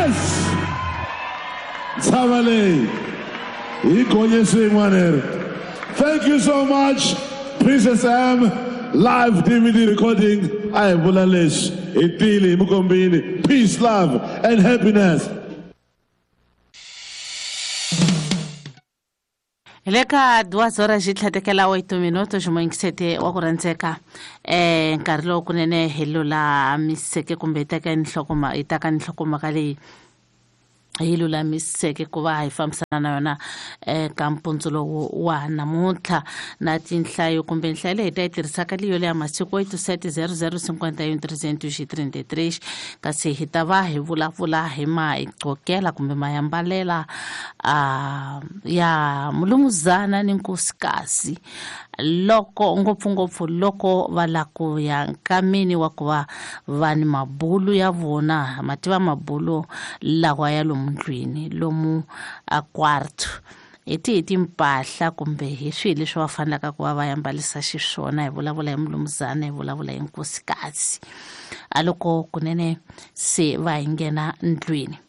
Yes! Ntshava leyi hi gonye swin'wana leri. Thank you so much, Princess M live DVD recording. A hi vula leswi hi tile hi mi kombile. Peace, love and happiness. Hi le ka duas horas xi tlhatekela 8 minuto ximoyingisete wa ku rhandzeka nkarhi lowu kunene hi lulamiseke kumbe hi teka nhlokoma hi taka nhlokomhaka leyi hi lulamiseke ku va hi fambisana na yona ka mpundzu lowu wa namuntlha na tinhlayo kumbe nhlayo leyi hi ta yi tirhisaka leyo leya masiku 87 00 51 333 kasi hi ta va hi vulavula hi maigqokela kumbe mayambalela ya mulumuzana ni nkosikazi loko ngopfungopfu loko va la ku ya nkameni wa ku va va ni mabulu ya vona ma tiva mabulu lawa ya lomu ndlwini lomu a quarto hi tihi timpahla kumbe hi swihi leswi va fanelaka ku va va yambalisa xiswona. Hi vulavula hi mulumuzana, hi vulavula hi nkosikazi a loko kunene se va hi nghena ndlwini.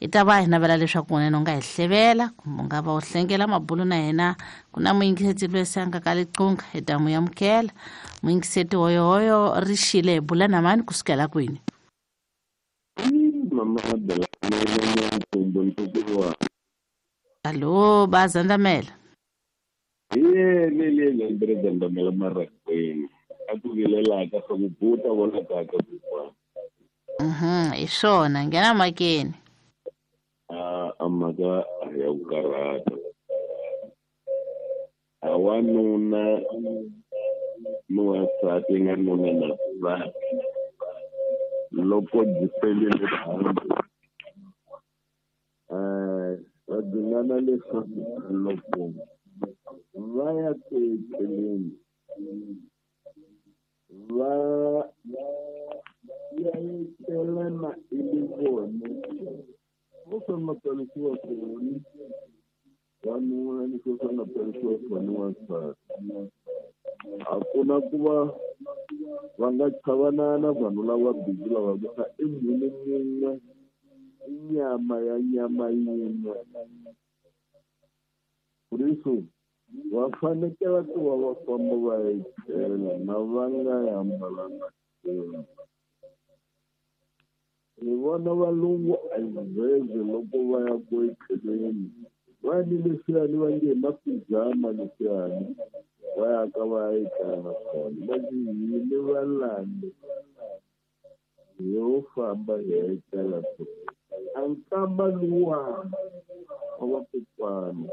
Hi ta va hi navela leswaku kunene u nga hi hlevela kumbe u nga va u hlengela mabulu na hina. Ku na muyingiseti loyi se a nga ka liqunga, hi ta n'wi amukela. Muyingiseti hoyohoyo ri xile, hi bula na mani kusukela kwini? Allo, ba zandamela. Ye le le le ndre zandamela marakwini. A ku vilela ka swa ku buta vona ka ka ku. Hi swona nghena makeni. A mhaka ya ku karhata. A wanuna ni wansati nga nuna na nsati. Loko byi pelile hansi. Va dzingana leswaku loko va ya ku etleleni va ya etlelana i vona vo swi nga tsarisiwa kona wanuna ni swo swi nga tsarisiwa kona wansati. A ku na ku va va nga chavanana vanhu lava bindzu lava ku i munhu mun'we i nyama ya nyama yin'we. Kuriso va fanekele ku va va famba va etlela na va nga hambalanga nchumu. Hi vona valungu a hi loko va ya ku etleleni va ni leswiyani va nge hi mapijama leswiyani va ya ka va ya etlela na swona. Va ku hini valandi yo famba hi ya etlela a nkamba luwa wa vakokwana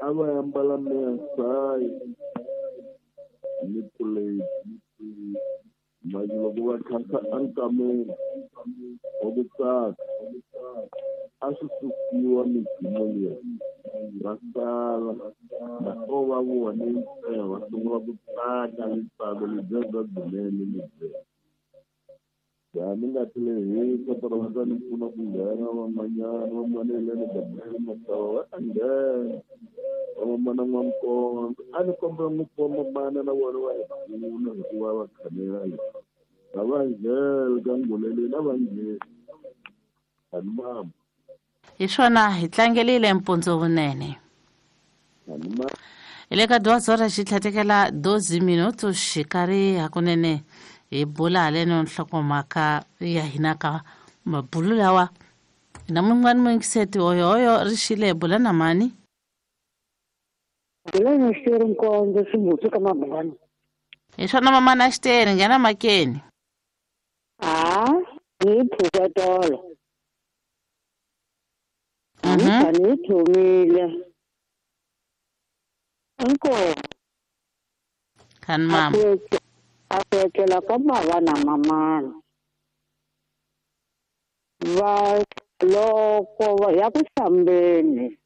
a va ambala mesayi ni puleti. Manje loko va khasa enkameni wa ku tsaka a swi susiwa midzimu liya va sala na o va vone ntsena va sungula ku tsaka ntsako lebyiya bya byinene lebyiya. Ya ni nga tlheli hi kota va ta ni pfuna ku nghena van'wanyana van'wana hi le Gabriel Masava va ta nghena vamamana N'wankonzo a ni kombela ngopfu vamamana na vona va hi pfuna hikuva va khanela a va nghena ka nguleleni a va ngheni ani mama. Hi swona hi tlangelile mpundzu vunene. Hi le ka duas horas xi tlhatekela 12 minutos xikarhi hakunene hi bula haleno nhlokomhaka ya hina ka mabulu lawa. Na mun'wana muyingiseti hoyohoyo ri xile, hi bula na mani? Bula na Xiteri Nkondzo Ximbuti ka Mabulana. Hi swona mamana Xiteri, nghena makeni. A hi pfuka tolo. Ni thomile. Inkomu. Khani mama. A ku etlela ka bava na mamana. Va loko va ya ku hlambeni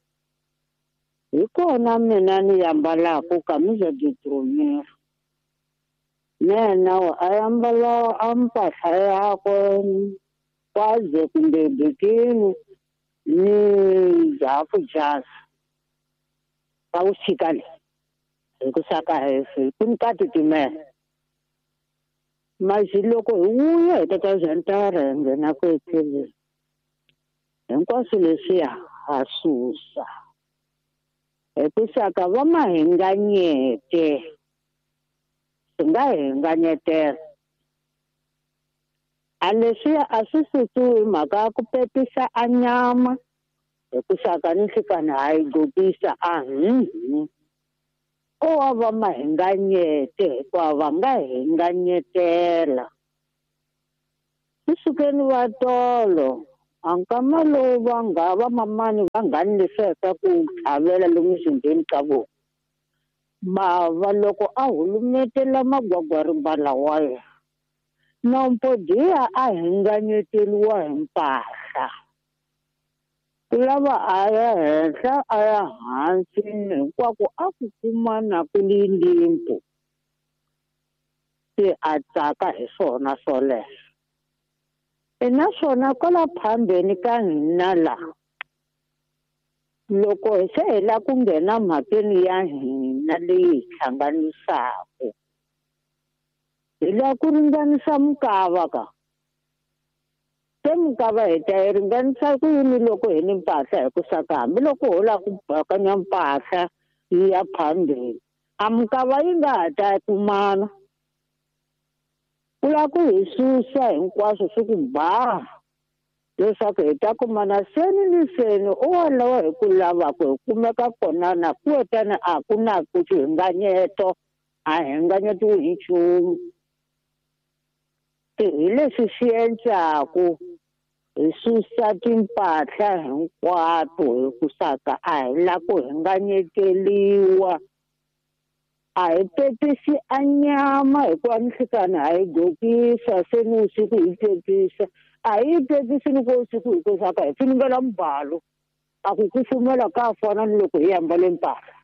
hi kona mina ni yambalaka camisa de dormir. Nena a yambala a mpahla yakwe kwaze kumbe bikini ni hafu jazz. Va wu tshika le hi ku saka hefe ku ni ka titimela. Mazi loko hi vuya hi tata zantara hi nghena ku etleleni hinkwaswo leswiya ha susa hikusaka va mahinganyete swi nga hinganyetela a leswiya a swi susiwi hi mhaka ya ku pepisa a nyama hikusaka ni nhlikani ha yi gokisa a ko wa va mahinganyete hikuva va nga hinganyetela. Swi sukeni va tolo a nkama lowu va nga va mamani va nghani leswiya ku tlhavela lomu mzimbeni ka vona bava loko a hulumetela magwagwarimba lawaya Nompodiya a hinganyeteriwa hi mpahla ku lava a ya henhla a ya hansi hinkwako a ku kumana ku li limpo se a tsaka hi swona swoleswo. Naswona kwala phambeni ka hina la loko se hi la ku nghena mhakeni ya hina leyi hi hlanganisaka hi la ku ringanisa mukava ka se mukava hi ta yi ringanisa ku yini loko hi ni mpahla hikusaka hambiloko ho lava ku bakanya mpahla yi ya phambeni a mukava yi nga ha ta kumana ku lava ku hi susa hinkwaswo swi ku ba leswaku hi ta kumana seni ni seni u walowo hi ku lavaka hi kumeka kona na kuetani a ku na ku xihinganyeto a hinganyetiwi hi nchumu. Hi leswi swi endlaku hi susa timpahla hinkwato hikusaka a hi la ku hinganyeteliwa a hi pepisi a nyama hikuva nhlikani ha yi gokisa se ni usiku hi pepisa a hi yi pepisi ni ko usiku hikusaka hi finingela mubalo a ku kufumela ka fana ni loko hi ambale mpahla.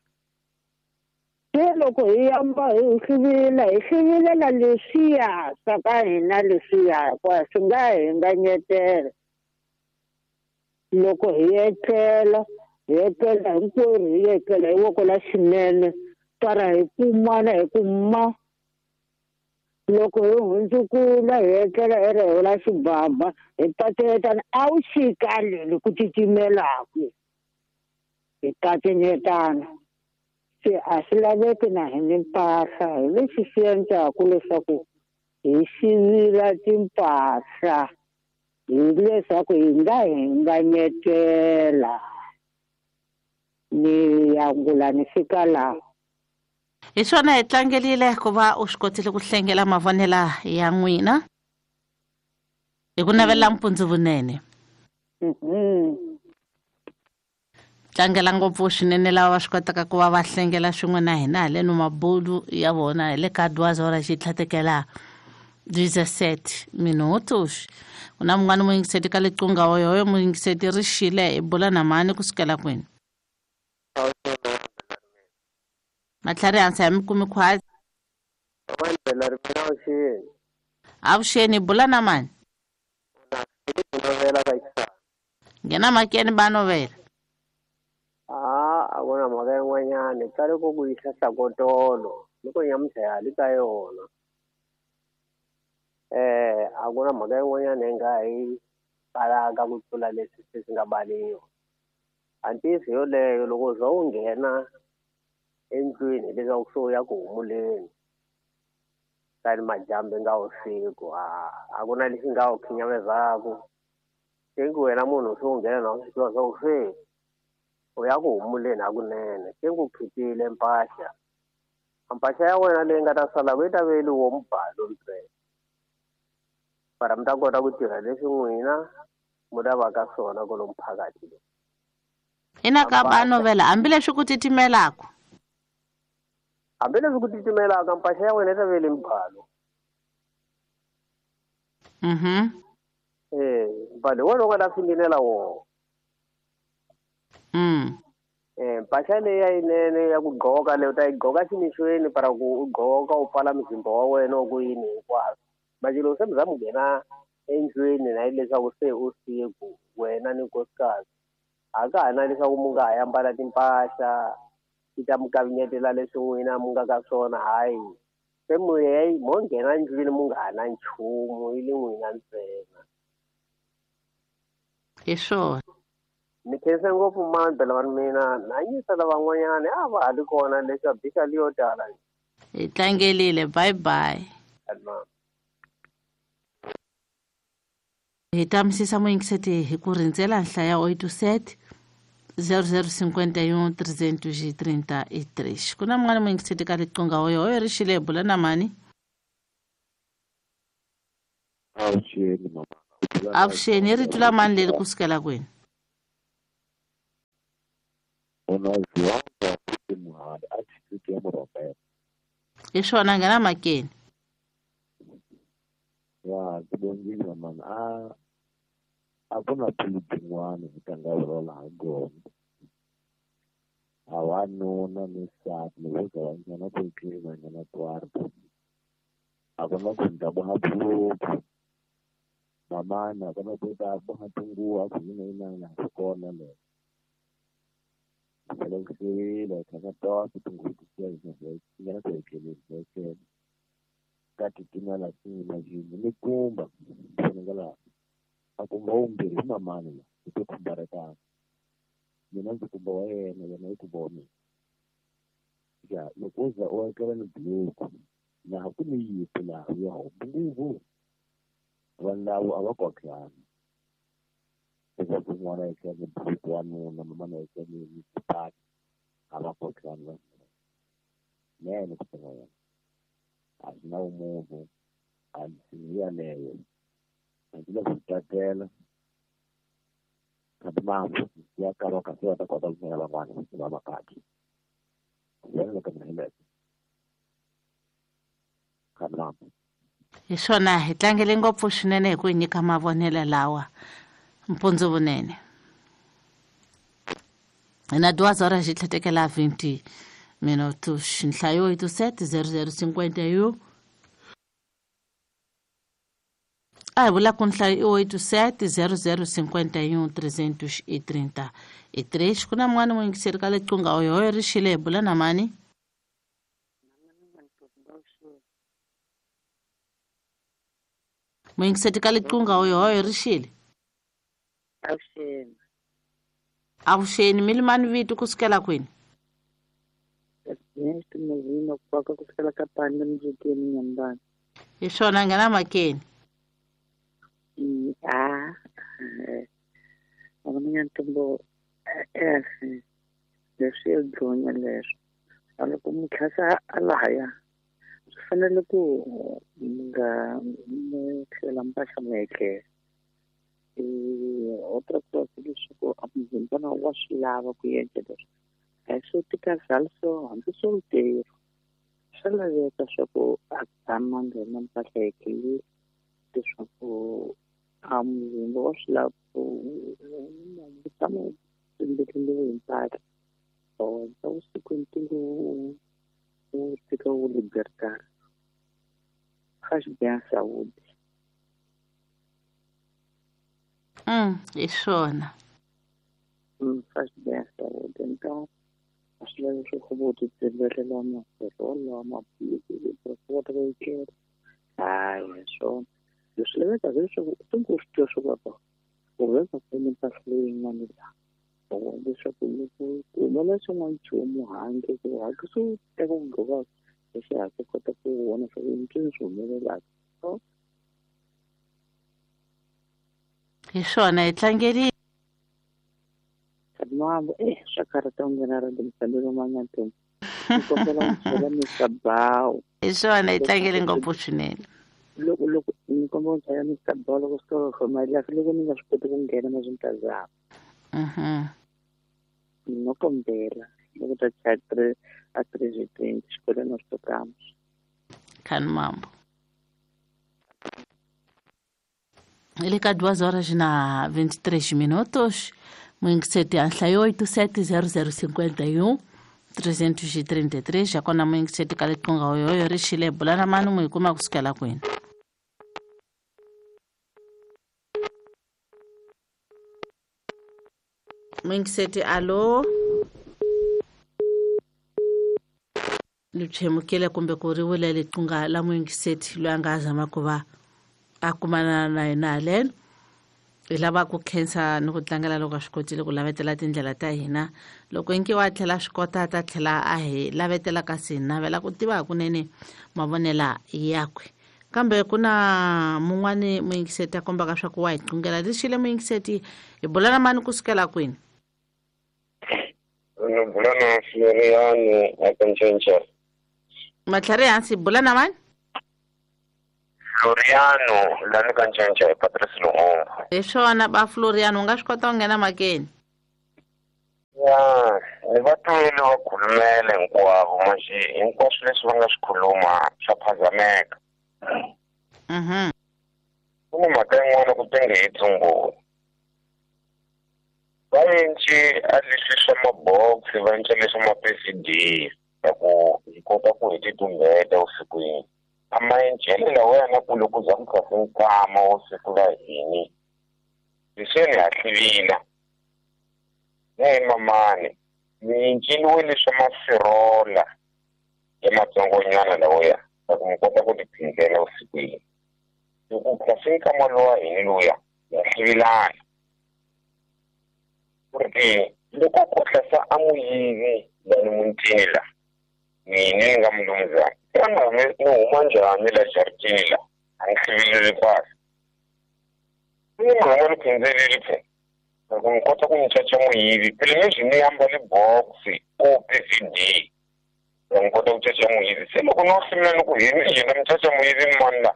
Se loko hi amba hi hluvila hi hluvilela leswiya swa ka hina leswiya hikuva swi nga hinganyetela. Loko hi etlela hinkwerhu hi etlela hi voko la xinene para hi kumana hi ku ma loko hi hundzukula hi etlela hi reho la xibaba hi pateletana a wu xika leli ku titimelaku hi pateletana. Se a swi laveki na hi ni mpahla hi lexi swi endlaku leswaku hi xivila timpahla hileswaku hi nga hinganyetela. Ni angula ni fika laha. Hi swona hi tlangelile ku va u swi kotile ku hlengela mavonela ya n'wina hi ku navela mpundzu vunene. Tlangela ngopfu swinene lava va swi kotaka ku va va hlengela swin'we na hina haleno mabulu ya vona hi le ka 2 horas xi tlhatekela 17 minutos. Ku na mun'wana muyingiseti ka liqunga hoyohoyo muyingiseti ri xile hi bula na mani kusukela kwini matlhari hansi ya mi kumi khwatsi. Avuxeni bula na mani nghena makeni ba novela. A ku na mhaka yin'wanyana tsale ku ku yisa hlakotolo loko nyamuntlha ya hali ka yona a ku na mhaka yin'wanyana yi nga hi balaka ku tlula leswi se swi nga baliwa. A ntiyiso yoleyo loko u za u nghena endlwini hileswaku se u ya ku humuleni tani majambu nga usiku a ku na lexi nga wu khinyamezaka se ku wena munhu se u nghena na u swi tiva swa ku se u ya ku humuleni hakunene se ku khipile mpahla mpahla ya wena leyi nga ta sala yi ta veliwa mubalo ntsena para mi ta kota ku tirha leswi n'wina mu lavaka swona kwalomu phakathi lowu. Ina ka ba novela hambileswi ku titimelaka hambileswi ku titimelaka mpahla ya wena yi ta vele mubalo. Mbalo hi wona u nga ta finginela wona. Mpahla leyi ya yinene ya ku gqoka leyi u ta yi gqoka ximixweni para ku u gqoka u pfala muzimba wa wena wa ku yini hinkwaswo manje loko se mi za mi nghena endlwini na hileswaku se usiku wena ni nkosikazi a ka ha na leswaku mu nga ha ambala timpahla ti ta mi kavinyetela leswi n'wina mu nga ka swona hayi Se mo nghena ndlwini mu nga ha na nchumu yi le n'wina ntsena. Hi swona. Ni khensa ngopfu mandla lava mina nanyisa lavan'wanyana a va ha li kona leswi a bisa leyo tala. Hi tlangelile, bye bye. Hi tamisisa muyingiseti hi ku rindzela nhlaya 87 0051 333. Ku na mun'wana muyingiseti ka riqingho oyo oyo ri xile bula na mani? Avuxeni mama. Avuxeni, i rito la mani leri kusukela kwini? Hi swona, nghena makeni. Ya ku mani a ku na phulu tin'wana hi ta nga vulavula ha gona. A wanuna ni nsati loko vo za va nghena ku etleli va nghena kwarto a ku na ku ni ta boha buruku mamana a ku na ku ta boha tinguva a ku yina a swi kona leyo. Selekisiwile tlhela tonke tinguva ti nghena ku etleleni hi etlela ka titimela swi ni kumba vonakala a kumba wumbirhi hi mamani la hi to khumbarekana mina ndzi kumba wa yena yena yi kumba wa mina. Ya loko wo za u etlela ni buruku laha ku ni yipi laha ya huma nguvu vanhu lavo a va kotlani leswaku n'wana a etlela ni buruku wanuna mamana a etlela ni xipaki a va kotlani vanhu nene ku tiva yena a swi na vumunhu a hi yaleyo a ndzi le ku tsakela kambe mambo ya kava kasi va ta kota ku nghena van'wana va makati yena loko mina hi kambe mambo. Hi swona, hi tlangele ngopfu swinene hi ku hi nyika mavonelo lawa mpundzu vunene. Hi na 2 horas hi tlhetekela 20 minutos. Nhlayo 87 0051. A hi vula ku nhlayo i 87 0051 333. Ku na mun'wana muyingiseri ka riqingho oyo oyo ri xile hi bula na mani? Muyingiseti ka riqingho oyo oyo ri xile? Avuxeni. Avuxeni, mi limani vito kusukela kwini? Hi swona, nghena makeni. Ntombo leswi ya dlonya leswo a loko mutlhasa a laya swi fanele ku mi nga mu tlhela mpahla mu etlela. Outra coisa leswaku a muzimbana wa swi lava ku endla leswi a hi swo tikazala so hambi solteiro swa laveka swa ku a tshama nghena mpahla etlelile leswaku a muzimba wa swi lava ku tshama wu tlimbetlimbiwe hi mpahla or vusiku ntingo wu tika wu libertar faz bem à saúde. Hi swona. Faz bem à saúde. Então a swi lava leswaku vo ti tsembelela maferolo maphilisi kota ku etlela. Hayi hi swona leswi lavekaka leswaku u tingo u swi tiva swa ku u veka kwini mpahla leyin'wana laha leswaku loko ku humelela xin'wana nchumu handle ku hatlisa u teka ku gqoka hi xihatla u kota ku vona swa ku i ncini swi humelelaka. Hi swona, hi tlangerile. Mambo swa karhata ku nghena ra timfanelo manyantombo ni kombela ku byela Mr. Bawu. Hi swona, hi tlangele ngopfu swinene. Loko loko ni kombela ku byela Mr. Bawu loko swi tolo khoma loko ni nga swi koti ku nghena na swi ta zama. No kombela loko ta chaya a 3:20 xikolweni a swi tokamba. Khani mambo. Ele ka 2 horas na 23 minutos. Muyingiseti a nhlayo 87 0051 333. Ya kona muyingiseti ka riqingho oyo oyo ri xile bula na mani mu hi kuma kusukela kwini? Muyingiseti alo. Li tshemukile kumbe ku ri wile liqunga la muyingiseti loyi a nga zama ku va a kumana na yena haleno. Hi lava ku khensa ni ku tlangela loko a swi kotile ku lavetela tindlela ta hina. Loko inki wa tlhela swi kota ta tlhela a hi lavetela, kasi hi navela ku tiva hakunene mavonela yakwe. Kambe ku na mun'wani muyingiseti a kombaka swa ku wa hi qungela lexile. Muyingiseti, hi bula na mani kusukela kwini? Ni bula na Floriano aka Ncenca. Matlhari hansi, bula na mani? Floriano lani ka Ncenca, hi Patrice Lumumba. Hi swona ba Floriano, u nga swi kota ku nghena makeni. Ya, ni va twile va khulumela hinkwavo, manje hinkwaswo leswi va nga swi khuluma swa phazameka. Ku na mhaka yin'wana ku tenge hi tsumbula va enci a leswi swa mabox, va enca leswa ma-PVD ya ku hi kota ku hi titumbeta vusikwini. A maencelo lawa na ku loko za ku tlhase nkama wo siku la hini leswiyani ha hlivila na hi mamani mi enceliwe leswa mafirola ya matsongonyana lawaya ya ku mi kota ku tiphindzela vusikwini. Loko ku tlhase nkama lowa hini luya ya hlivilana ku ri ke loko ko tlhasa a muyivi lani mutini la mina ni nga mulumuzana xana ni huma njhani la jaritini la a ni hlivileli mpahla ni mi huma ni phindzelerile phe loko ni kota ku ni caca muyivi phela mi ni ambale box o PVD ya ni kota ku caca muyivi. Se loko no hlimula ni ku hi ni njhe mi caca muyivi ni mani la?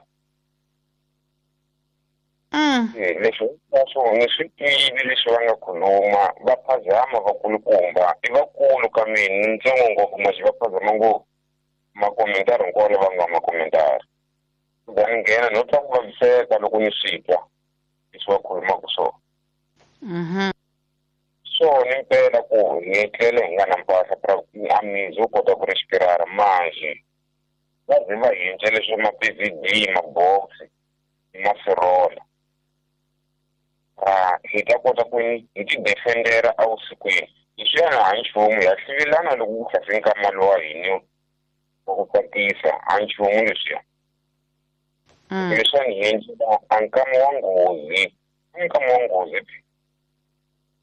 Leswi hinkwaswo ni swi twile leswi va nga khuluma, va phazama vakulukumba, i vakulu ka mina ni ntsongo ngopfu, maxi va phazama ngopfu makomentari hinkwawo lava nga makomentari. Ku ni nghena no twa ku vaviseka loko ni swi twa leswi va khulumaka swona. Swona impela ku hi etlela hi nga na mpahla a mizi wo kota ku respirara, manje va ze va hinca leswi ma-PVD, mabox ni mafirola a hi ta kota ku hi ti defendera evusikwini. Leswiyani a nchumu, ha hlivilana loko ku tlhase nkama lowa hini wa ku tsakisa, a nchumu leswiya. Leswiwani hi endlela a nkama wa nghozi, nkama wa nghozi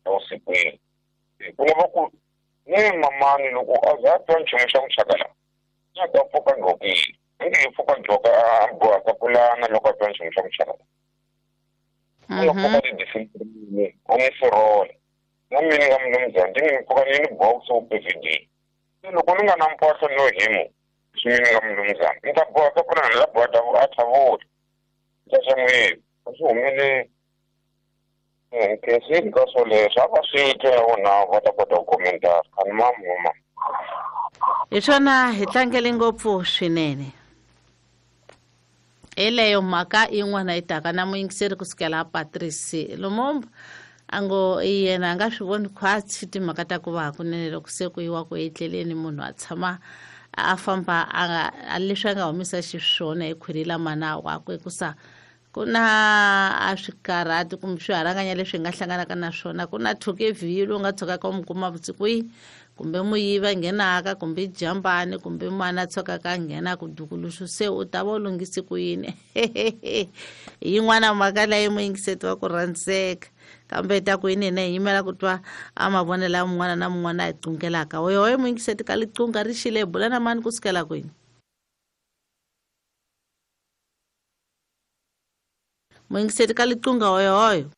evusikwini. Ku lava ku ne mamani loko a za a twa nchumu xa ku chakala a ta pfuka gqokile, a nge he pfuka gqoka a bohaka pulana loko a twa nchumu xa ku chakala a nga pfuka ti-discipline a ni firola na mina nga mulumuzana ndi ni pfuka ni ni box wo PVD. Se loko ni nga na mpahla no himu leswi mina nga mulumuzana ni ta bohaka pulana la boha a thavula caca muyivi a swi humeleli. Nkhensile ka swoleswo a va swi twa ya vona va ta kota ku komentara a ni mamuma. Hi swona, hi tlangele ngopfu swinene. Hi leyo mhaka yin'wana yi taka na muyingiseri kusukela Patrice Lumumba a ngo yena a nga swi voni khwatsi timhaka ta ku va hakunene loko se ku yiwa ku etleleni munhu a tshama a famba a leswi a nga humisa xiswona hi khwiri la mana wakwe kusa ku na a swikarhati kumbe swiharanganya leswi hi nga hlanganaka na swona. Ku na thuke vhilo u nga tshukaka u mi kuma vusikwini, kumbe muyivi a nghenaka, kumbe jambani, kumbe mana a tshukaka a nghena ku dukuluxu, se u ta va u lunghise ku yini? Yin'wana mhaka leyi muyingiseti wa ku rhandzeka, kambe ta ku yini hina hi yimela ku twa a mavonelo ya mun'wana na mun'wana a hi qungelaka. Oyohoyo muyingiseti ka liqunga ri xile, hi bula na mani kusukela kwini? Muyingiseti ka liqunga, hoyohoyo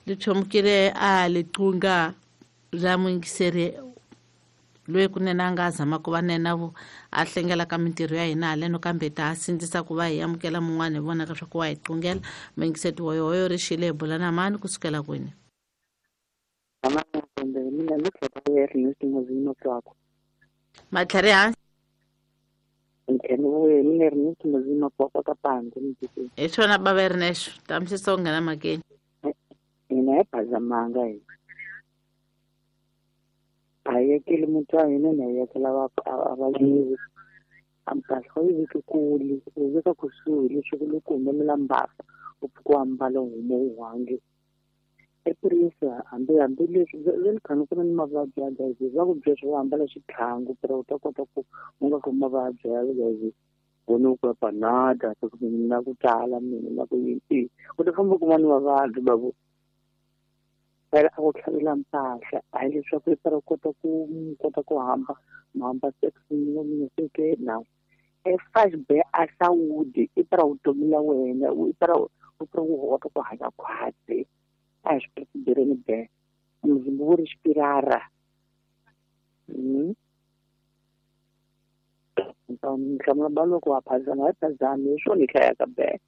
li chomukile a liqunga ra muyingiseri loyi kunene a nga zama ku va nena vo a hlengela ka mintirho ya hina haleno, kambe ta sindzisa ku va hi amukela mun'wana hi vonaka swa ku wa hi qungela. Muyingiseti hoyohoyo ri xile, hi bula na mani kusukela kwini? Mina Matlhari hansi. Mina Ernest Mozima Kwakwa ka Panzi. Hi swona bava Ernesto, tamisisa u nghena makeni. Hina hi phazamanga, hina a hi yekeli muti wa hina, na hi yekela a vayivi. A mpahla u yi veki kule, u yi veka kusuhi leswaku loko ku humelela mbasa u pfuka u ambala u huma u hange. Epurisa hambi leswi ve khani ku na ni mavabyi ya HIV va ku byela swa ku ambala xitlhangu phela u ta kota ku u nga khomi mavabyi ya HIV vona ku ya panada na ku tala mina na ku yini u ta famba kuma ni mavabyi babu phela a ku tlhavela mpahla a hi leswaku i fara u kota ku hamba hamba sex seke na e faz bem a saúde e para vutomi la wena i para u kota ku hanya khwatsi a swi tirheni be muzimba wu ri xipirara nhlamulo ba loko wa phazama hi phazami hi swona hi hlayaka be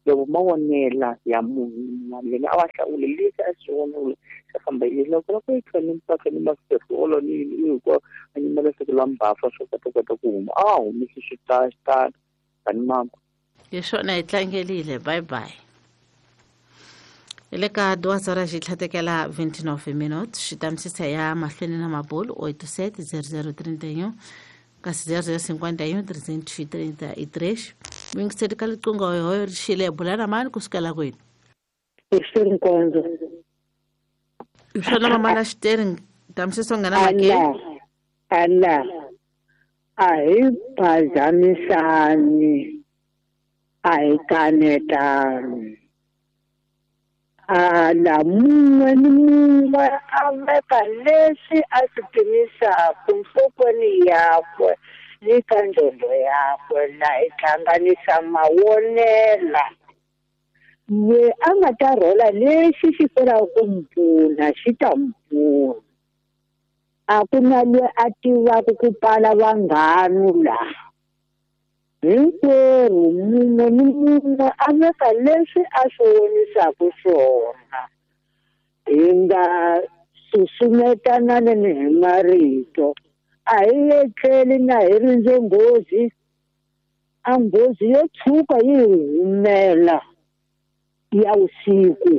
loko mavonela ya munhu yena a wa hlawule leswi a swi vonile xa famba yini loko loko yi tlhela ni mpahla ni maferolo ni yini hinkwayo a nyimela siku la mbafa swo kota ku huma a humisi xitalo tani mama hi swona hi tlangelile bye bye le ka 2 horas tlhatekela 29 minutes xitamisisa ya mahlweni na mabulu 87 0031 kasi 0051 333 muyingiseri ka liqingho hoyo ri xile bula na mani kusukela kwini hi nkonzo hi swona mamana xiteri tamisisa nghena makeni ala a hi phazamisani a hi kanetani ala mun'we ni mun'we a veka leswi a swi pimisaka nhlokweni yakwe ni ka nqondo yakwe laha hi hlanganisa mavonela loyi a nga ta rhola lexi xi felaka ku n'wi pfuna xi ta n'wi pfuna a ku na loyi a tivaka ku pala vanghanu laha hinkwerhu mun'we ni mun'we a veka leswi a swi vonisaka swona hi nga susumetanani hi marito a hi etleli na hi rindze nghozi a nghozi yo tshuka yi hi humela ya vusiku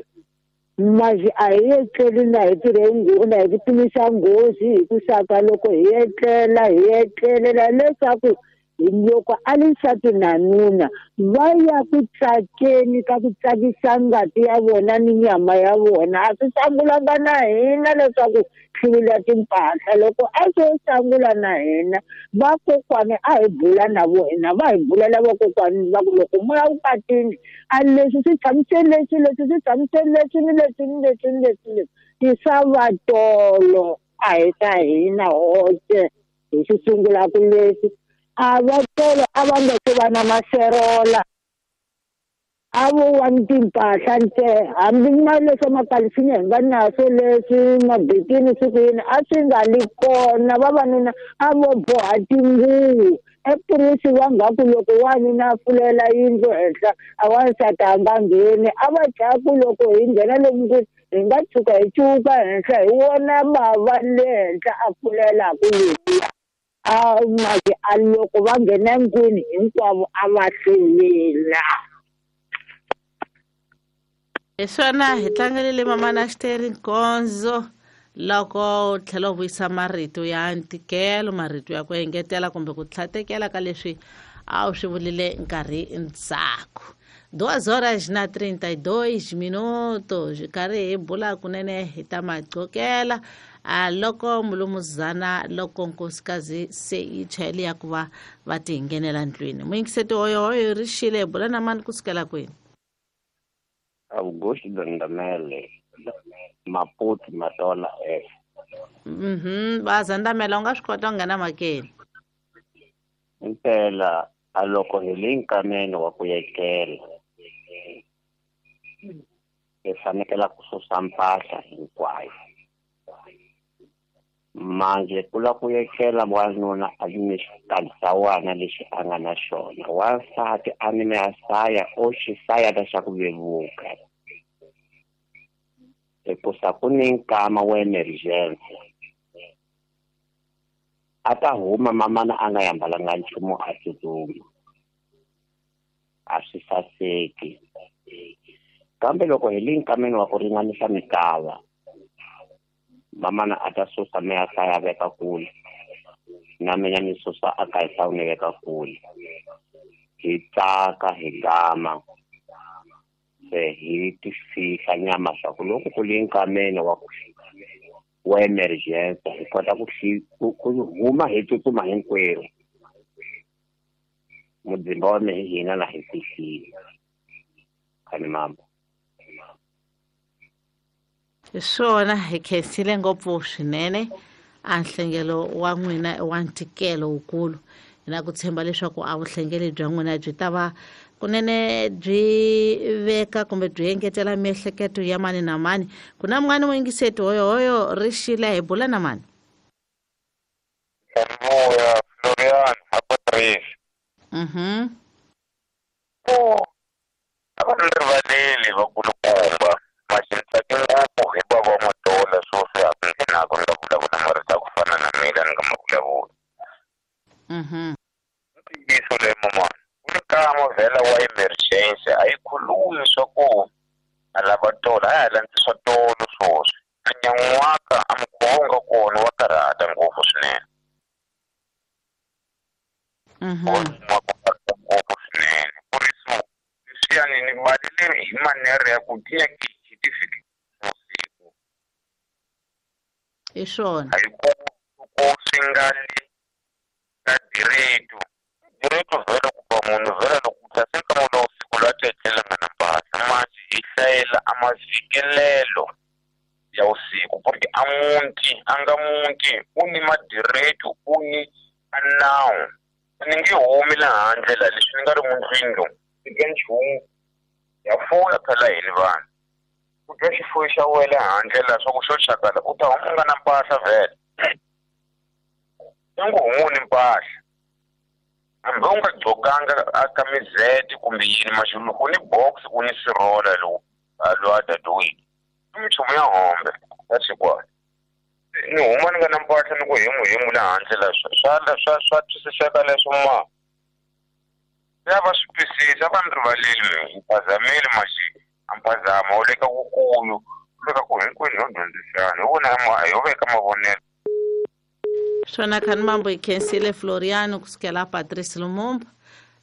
masi a hi etleli na hi tirhe na hi ku pimisa nghozi hi ku saka loko hi etlela hi etlelela leswaku loko a li nsati na nuna va ya ku tsakeni ka ku tsakisa ngati ya vona ni nyama ya vona a swi sangulanga na hina leswaku hluvula timpahla loko a swo sangula na hina vakokwani a hi bula na vona va hi bulela vakokwani va ku loko moya vukatini a leswi swi tshamiseni leswi leswi swi tshamiseni leswi ni leswi ni leswi ni leswi ni leswi i swa vatolo a hi swa hina hoxe hi swi sungulaka leswi a vatolo a va nga se va na maserola a vo wa ni timpahla ntsena hambi ma leswa makalisinya hi nga naso leswi mabikini swi ku yini a swi nga li kona vavanuna a vo boha tinguvu epurisi va nga ku loko wanuna a pfulela yindlu henhla a wansati a nga ngheni a va dlaya ku loko hi nghena lomu kwini hi nga tshuka hi cuka henhla hi wona bava le henhla a pfulelaku letiya a maki a loko va nghena nkwini hinkwavo a va hluvila hi swona hi tlangelele mamana xiteri nkonzo loko u tlhela u vuyisa marito ya ntikelo marito ya ku engetela kumbe ku tlhatekela ka leswi a wu swi vulile nkarhi ndzhaku 2 horas na 32 minutos karhi hi bula kunene hi ta maqokela a loko mulumuzana loko nkosikazi se yi chayele ya ku va va ti nghenela ndlwini muyingiseti hoyohoyo ri xile hi bula na mani kusukela kwini Augusto Dandamele Maputo Matola F Bazandamela u nga swi kota ku nghena makeni impela a loko hi le nkameni wa ku etlela hi fanekela ku susa mpahla hinkwayo manje ku la ku etlela wanuna a yime xikalisawana lexi a nga na xona wansati a nime a saya o xisaya xa ku vevuka hikusa ku ni nkama wa emergency a ta huma mamana a nga yambalanga nchumu a tsutsuma a swi saseki kambe loko hi le nkameni wa ku ringanisa mikava mamana a ta susa me a hlaya veka kule na mina ni susa a ka hi ni veka kule hi tsaka hi gama se hi ti fihla nyama swa ku loko ku li nkameni wa ku wa emergency hi kota ku huma hi tsutsuma hinkwerhu mudzimba wa mehe hina na hi fihlile khani mambo hi swona hi khensile ngopfu swinene a nhlengelo wa n'wina wa ntikelo wukulu hi na ku tshemba leswaku a vuhlengeli bya n'wina byi ta va kunene byi veka kumbe byi engetela miehleketo ya mani na mani ku na mun'wani muyingiseti hoyohoyo ri xile hi bula na mani Vuya Florian Hapatrice. A va ni rivaleli vakulukumba maxintsaki ngopfu hi va va matola swoswi a ku nghenaka ni nga vulavula marito ya ku fana na mina ni nga ma vulavuli. Ntiyiso leyi mamana ku ni nkama vhela wa emergency a yi khulumi swa ku a lava tolo a ya ha landzi swa tolo swoswi a nyan'waka a mukhuva wu nga kona wa karhata ngopfu swinene. Ngopfu swinene ku ri so leswiyani ni balele hi manere ya ku tinyaki hi ti fikisa siku hi swona a yi ku swi nga li ka direto direto vhela ku ba munhu vhela loko ku tlase nkama lowu siku la tletlelanga na mpahla masi hi hlayela a mavikelelo ya vusiku porque a munti a nga munti u ni madireto u ni a nawu ni nge humi laha handle la leswi ni nga ri mundlwini lomu eka nchumu ya fuya phela hini vanhu ku dya xifuwo xa wena handle la swa ku xo chakala u ta huma u nga na mpahla vhele i ngo humu ni mpahla hambi u nga gqokanga a kamizete kumbe yini maxulu ku ni box ku ni sirola lowu lowu a dadoyini i minchumu ya hombe ya xikwani ni huma ni nga na mpahla ni ku hemu hemu laha handle la swa twisiseka leswo ma ya va swi twisisa va ni rivaleli mi phazamile maxi a mphazama wu le ka kukulu wu le ka ku hinkwenu ho dyondzisana hi vona ho veka mavonelo swona khani mambo hi khensile Floriano kusukela Patrice Lumumba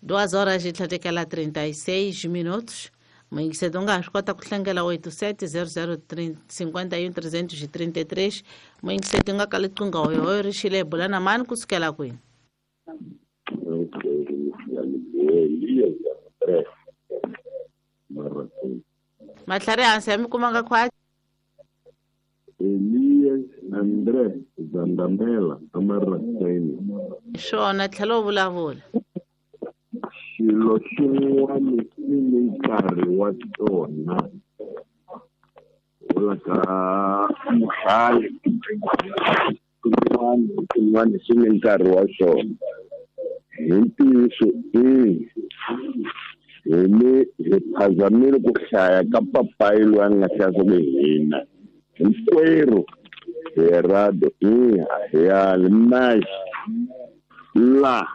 2 horas e 36 minutos muyingiseti u nga ha swi kota ku hlengela 87 00 51 333 muyingiseti u nga ka liqingho hoyohoyo ri xile hi bula na mani kusukela kwini matlhari hansi ya mi kumanga khwati Elias André Zandamela Amarakeni swona tlhela u vulavula xilo xin'wana xi ni nkarhi wa tona vula ka muhlali xin'wana xi ni nkarhi wa xona hi ntiyiso hi phazamile ku hlaya ka papayi loyi a nga hlaya swa ku hina hinkwerhu Herado ya maxi la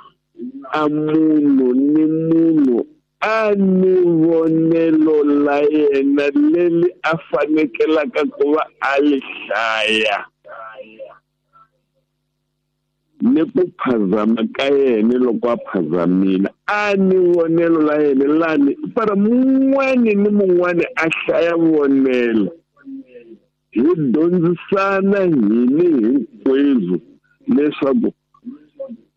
a munhu ni munhu a ni vonelo la yena leri a fanekelaka ku va a li hlaya ni ku phazama ka yena loko a phazamile a ni vonelo la yena lani para mun'wani ni mun'wani a hlaya vonelo hi dyondzisana hini hinkwenu leswaku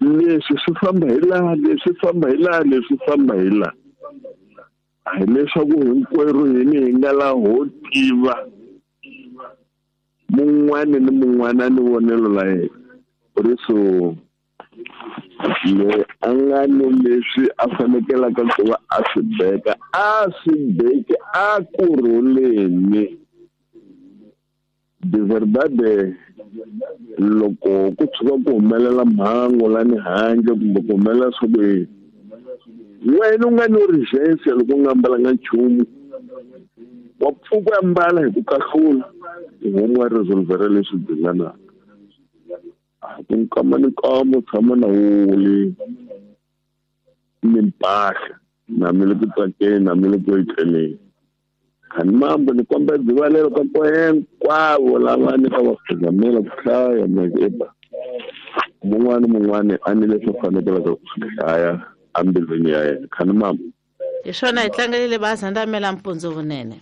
leswi swi famba hi laha leswi famba hi laha leswi famba hi laha a hi leswaku hinkwerhu hini hi nga laha ho tiva mun'wani ni mun'wana a ni vonelo la yena ri so le a nga ni leswi a fanekelaka ku va a swi beka a swi beki a kurhuleni de verdade loko ku tshuka ku humelela mhangu lani handle kumbe ku humelela swa ku yini wena u nga ni urgência loko u nga ambalanga nchumu wa pfuka u ambala hi ku kahlula homu wa resolvera leswi dinganaka a ku nkama ni nkama u tshama na wuli ni mpahla na mi le ku tsakeni na mi le ku etleleni khani mambo ni kombela rivalelo ka hinkwavo lava ni ka va phazamela ku hlaya eba mun'wana mun'wana a ni leswi fanekelaka ku swi hlaya embilwini ya yena khani mambo Hi swona hi tlangelile bazandamela mpundzu vunene.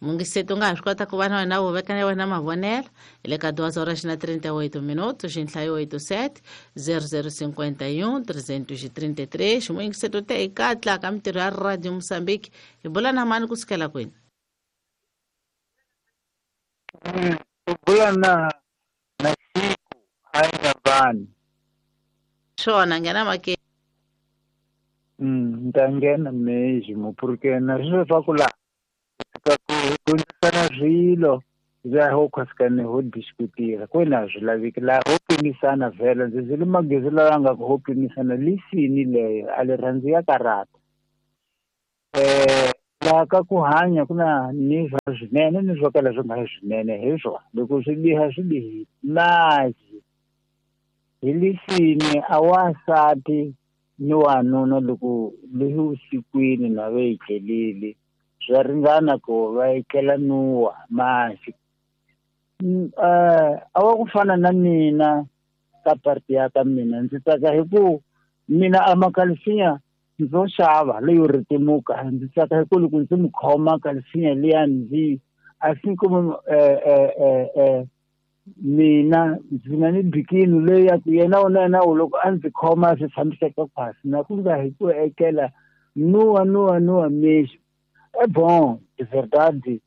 Mungiseti u nga ha swi kota ku va na wena u veka na wena mavonelo hi le ka 2h38 minutos xinhlayo 87 0051 333. Ximuyingiseti u te hi katla ka mintirho ya Radio Mozambique. Hi bula na mani kusukela kwini? U bula na Siku Inhambane. Swona nghena make. Ni ta nghena mesmo porque na swilo swa ku laha ka ku dyondzisana swilo laha ho khwasikane ho diskutira kwena a swi laveki laha ho pimisana vhela ndzi zile magezi lawa nga ku ho pimisana lisini leyo a li rhandzi ya karata. Laha ka ku hanya ku na ni swa swinene ni swo kala swi nga swinene hi swona loko swi biha swi bihile masi hi lisini a wansati ni wanuna loko leswi vusikwini na va etlelile swa ringana ku va etlela nuwa masi. A wa ku fana na mina ka parti ya ka mina ndzi tsaka hi ku mina a makalisinya ndzo xava leyo ritimuka ndzi tsaka hi ku loko ndzi mu khoma kalisinya liya ndzi a si kuma mina ndzi na ni bikini leyi ya ku yena na yena loko a ndzi khoma swi tshamiseka khwasi na ku nga hi ku etlela nuwa nuwa nuwa mexi. É bom, de verdade,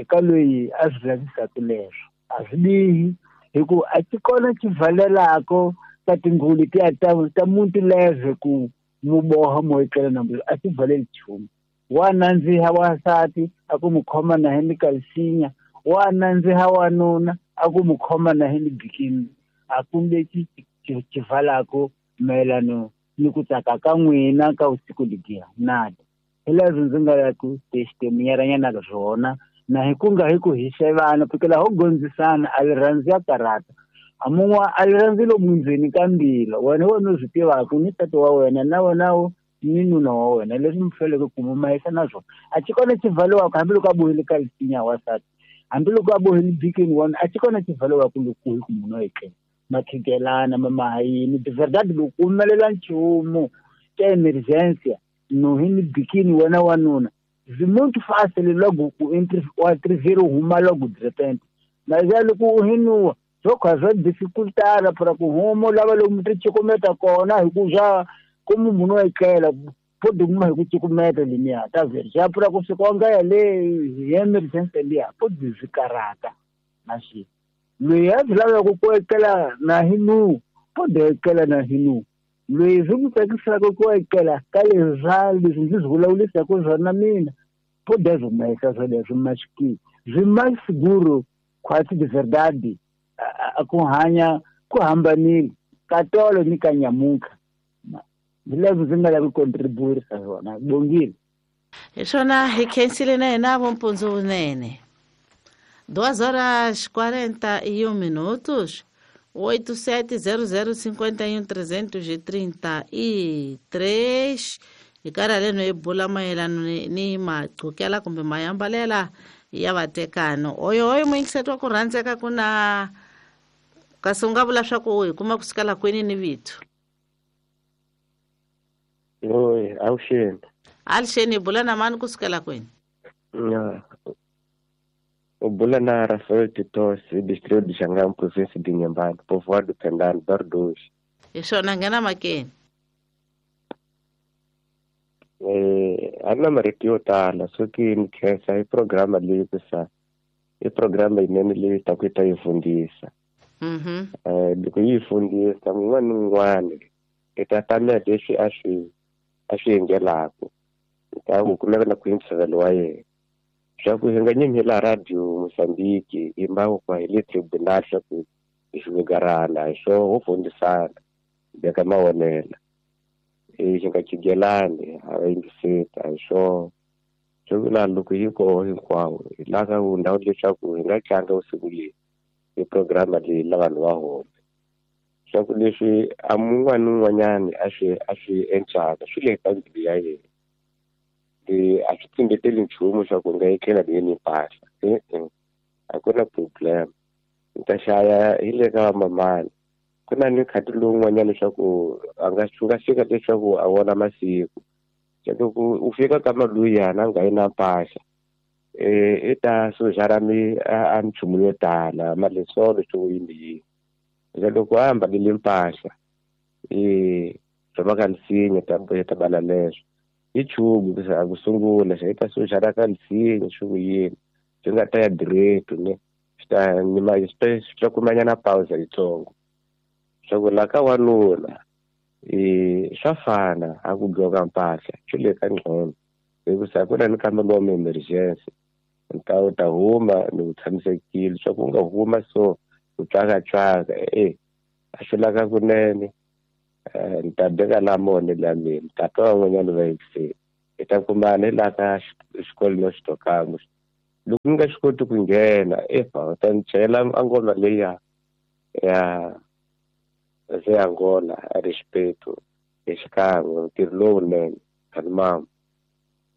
ka loyi a swi lavisaka leswo a swi bihi hi ku a ti kona xivalelako ka tinghuli tiya ta muti leve ku mu boha mo etlela na a ti valeli nchumu. Wa nandziha wansati a ku mu khoma na hi ni kalisinya, wa nandziha wanuna a ku mu khoma na hi ni bikini. A ku lexi xivalako mayelano ni ku tsaka ka n'wina ka vusiku lebyiya nada. Hi leswi ndzi nga ya ku testemunyaranyana ka swona na hi ku nga hi ku hi xevana porque laha ho gondzisana a li rhandzi ya karata a mun'wa a li rhandzi lomu ndzeni ka mbila wena wena u swi tivaka ni tata wa wena na wena ni nuna wa wena leswi mi faneleke ku mu mahisa na swona a xi kona xivaliwaka hambiloko a bohile ka lisinya wansati hambiloko a bohile bikini wona a xi kona xivaliwaka loko hi ku munhu a etlela makhikelana mamahayini de verdade loko ku humelela nchumu ka emergency no hi ni bikini wena wanuna zwi muito fácil logo ku entre o atrever huma logo de repente mas é loko u hinuwa swo kha swa dificultar para ku huma lava lomu ti cukumeta kona hi ku swa ku munhu a etlela pode kuma hi ku cukumeta leniya ta vhela xa pfula ku fika nga ya le hi emergency liya pode swi karata na xi loyi a swi lavaka ku etlela na hi nu pode etlela na hi nu loyi swi n'wi tsakisaka ku etlela ka leswa leswi ndzi swi vulavurisaka swona mina pode swi humesa swoleswo maxiki swi mais seguro quase de verdade a ku hanya ku hambanile ka tolo ni ka nyamuka hi leswi ndzi nga lavi ku contributa swona bongile. Hi swona hi khensile na yena vompundzu vunene. 2h41 minutos 870051 333. Hi karhi haleno hi bula mayelano ni maqhukela kumbe mayambalela ya vatekano. Oyo oyo muyingiseti wa ku rhandzeka ku na kasi u nga vula swa ku hi kuma kusukela kwini ni vito? Oi, avuxeni. Avuxeni, hi bula na mani kusukela kwini? U bula na Rafael Titos, distrito de Xangam, província de Inhambane, povoado Pendano, Bar 2. Hi swona nghena makeni. A na marito yo tala soki ni khensa hi programa leyi ku sa i programa yinene leyi ta ku yi ta yi fundisa. Loko yi fundisa un'wana ni un'wana i ta tamela leswi a swi endlelaka ta ku kumeka na ku ntshovelo wa yena swa ku hi nga nyimi la Radio Mozambique hi mbawu kwa hi le tribunal swa ku hi swigarana hi swo ho fundisana beka mavonelo hi nga khigelani a va yingiseta hi swo swo vula loko yi koho hinkwawo hi lava ku ndhawu leswaku hi nga tlanga vusiku leyi hi programa leyi la vanhu va home swa ku leswi a mun'wana ni un'wanyani a swi endlaka swi le ka mbilu ya yena a swi tsimbeteli nchumu swa ku nga etlela ni ni mpahla e-e a ku na problem ni ta xaya hi le ka vamamani ku na ni khati lowun'wanyana leswaku a nga swi nga fika leswaku a vona masiku Loko u fika ka maluyana a nga yi na mpahla i ta sujara mi a minchumu yo tala malesolo swo yini yini. Loko a ambalile mpahla swa ka nsinya ta ta bala leswo i chumu ku sungula xa i ta sujara ka nsinya swo yini swi nga ta ya direct ne swi ta nyima swi ta kumanyana pausa yitsongo. Swa ku la ka wanuna swa fana a ku gqoka mpahla swi le ka ngqondo hikusa ku na ni kamba lomu emergency nta u ta huma ni u tshamisekile swa ku u nga huma so u tswakatswaka a swi laka kunene ni ta beka la mone la mina ta twa van'wanyana va yingiseni hi ta kumana hi laha ka xikolo no xitokamo loko ni nga swi koti ku nghena efa u ta ni chayela a ngoma leya ya ze Angola a respeito hi xikan'we ntirho lowunene kani mama.